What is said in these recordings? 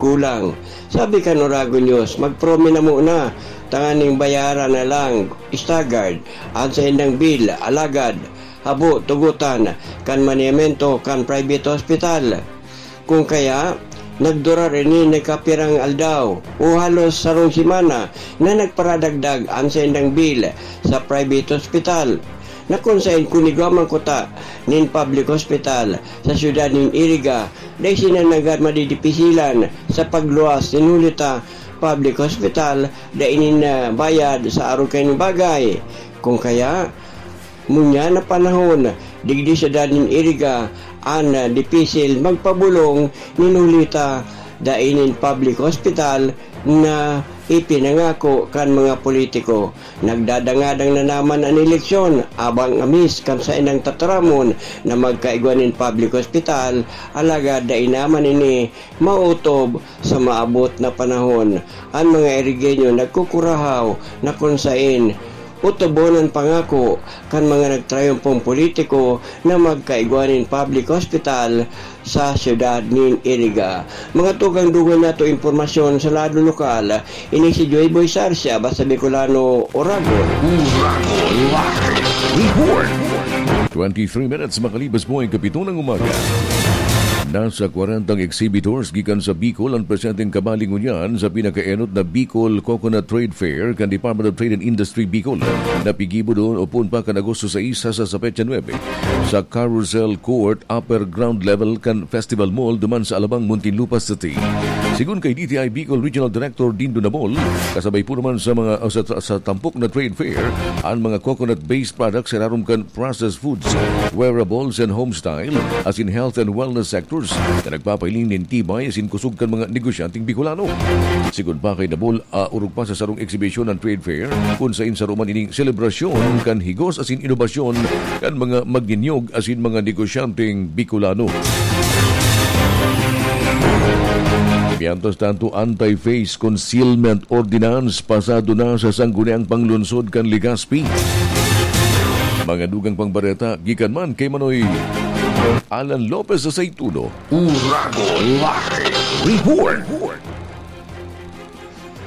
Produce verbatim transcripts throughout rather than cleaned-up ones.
kulang. Sabi kan Oragon News, magpromi na muna, tanganing bayaran na lang, staggered, an saindang bill, alagad, habo, tugutan, kan maniyamento, kan private hospital. Kung kaya, nagdurar ini na kapirang aldaw o halos sarong semana na nagparadagdag an saindang bill sa private hospital, na kun saen kun igwa man kuta nin public hospital sa siyudad nin Iriga, dai sinda nanggad madidipisilan sa pagluwas nin huli ta public hospital, dai nin, ah, bayad sa arog kaining bagay. Kung kaya, ngunyan na panahon, digdi sa siyudad nin Iriga, an, ah, dipisil magpabolong nin huli ta dai nin public hospital na ipinangako kan mga politiko. Nagdadangadang na naman an eleksyon, abang amis kan saindang tataramon na magkaigwa nin public hospital, alagad dai naman ini maotob sa maabot na panahon. An mga Irigeño nagkukurahaw na kun saen otobon an pangako kan mga nagtrayumpong politiko na magkaigwa nin public hospital sa siyudad nin Iriga. Mga tugang dugang nato impormasyon sa lado lokal, ini si Joy Boy Sarsia, Basta Bicolano, Oragon. Oragon Live Report. Twenty-three minutes makalipas po ang kapito ng umaga. Nasa kwarentang exhibitors gikan sa Bicol ang presenteng kabali ngunyan sa pinakaenot na Bicol Coconut Trade Fair kan Department of Trade and Industry Bicol, na pigibo duon o poon pa kan Agosto sais hasta sa petsa nuebe sa Carousel Court, upper ground level kan Festival Mall duman sa Alabang, Muntinlupa City. Sigon kay D T I Bicol Regional Director Dindo Nabol, kasabay po naman sa mga, o sa, sa tampok na trade fair, ang mga coconut-based products sa irarom kan processed foods, wearables and home style, asin health and wellness sectors na nagpapahiling nin tibay asin kusog kan mga negosyanteng Bicolano. Sigon pa kay Nabol, ah, orog pa sa sarong eksibisyon an trade fair, kun saen saro man ining selebrasyon kan higos asin inobasyon kan mga magninyog asin mga negosyanteng Bicolano. Mientras tanto, Anti-Face Concealment Ordinance pasado na sa Sangguniang Panglungsod kan Legazpi. Mga dugang pang bareta, gikan man kay Manoy Alan Lopez sa Saituno. Uragon Live Report.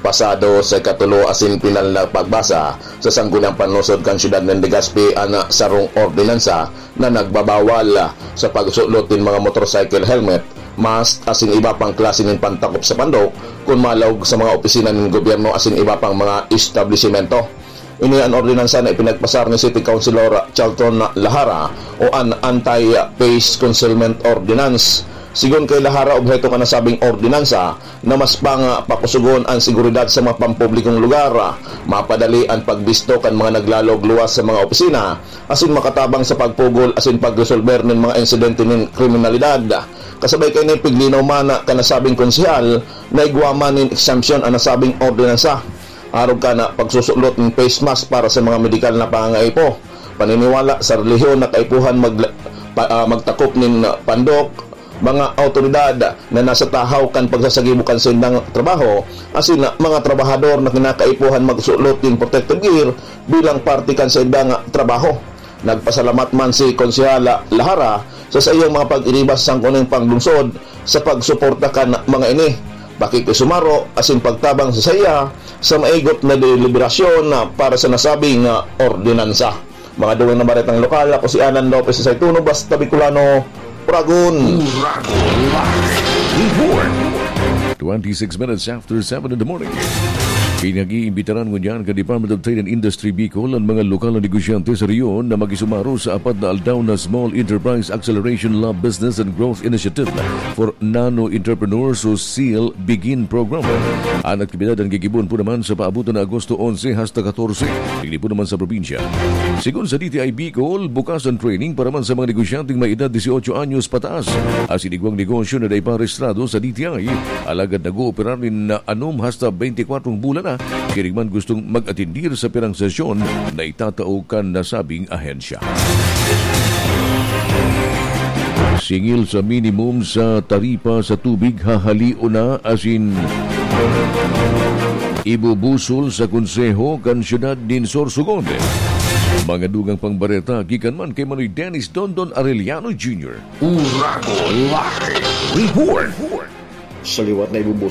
Pasado sa ikatulo asin pinal na pagbasa sa Sangguniang Panlungsod kan Siyudad nin Legazpi an sarong ordinansa na nagbabawal sa pagsulot nin mga motorcycle helmet, mask asin iba pang klase nin pantakop sa pandok kun malaog sa mga opisina nin gobyerno asin iba pang mga establisimento. Ini an ordinansa na ipinagpasar ni City Councilor Charlton Lahara o an Anti-Face Concealment Ordinance. Sigon kay Lahara, obheto kan nasabing ordinansa na mas pang pakusugon an seguridad sa mga pampublikong lugar, mapadali an pagbisto kan mga naglalog luwas sa mga opisina, asin makatabang sa pagpugol asin pagresolber nin mga insidente nin kriminalidad. Kasabay kaini, piglinaw man kan nasabing konsehal na igwa man nin exemption an nasabing ordinansa. Arog kan pagsusulot nin face mask para sa mga medikal na pangangaipo, paniniwala sa relihiyon na kaipuhan mag-, pa-, ah, magtakop nin pandok, mga awtoridad na nasa tahaw kan pagsasagibo kan saindang trabaho, asin mga trabahador na kinakaipuhan magsulot nin protective gear bilang parte kan saindang trabaho. Nagpasalamat man si Konsehal Lahara sa saiyang mga pag-iriba sa Sangguniang Panglungsod sa pagsuporta kan mga ini, pakikisumaro asin pagtabang sa saiya sa maigot na deliberasyon na para sa nasabing, ah, ordinansa. Mga dugang na baretang lokal, ako si Alan Lopez sa Saituno, Basta Bicolano, Uragon. Uragon Live Report. Twenty-six minutes after seven in the morning. Pinag-iimbitaran ngunyan kan Department of Trade and Industry Bicol an mga lokal na negosyante sa rehiyon na makisumaro sa apat na aldaw na Small Enterprise Acceleration Lab Business and Growth Initiative for Nano Entrepreneurs o seal Begin Program. An aktibidad an gigibohon po naman sa paabotan na Agosto onse hasta katorse, digdi po naman sa probinsya. Sigon sa D T I Bicol, bukas an training para man sa mga negosyanteng may edad dieciocho anyos pataas asin igwang negosyo na dai pa rehistrado sa D T I, alagad nag-ooperar nin anom hasta beintikwatro bulan na, siring man gustong mag-atendir sa pirang sesyon na itatao kan nasabing ahensya. Singil sa minimum sa taripa sa tubig, hahalion na asin ibubusol sa Konseho kan Siyudad nin Sorsogon. Mga dugang pang bareta gikan man kay Manoy Dennis Dondon Arellano Junior. Uragon Live Report. Sa liwat na ibubuo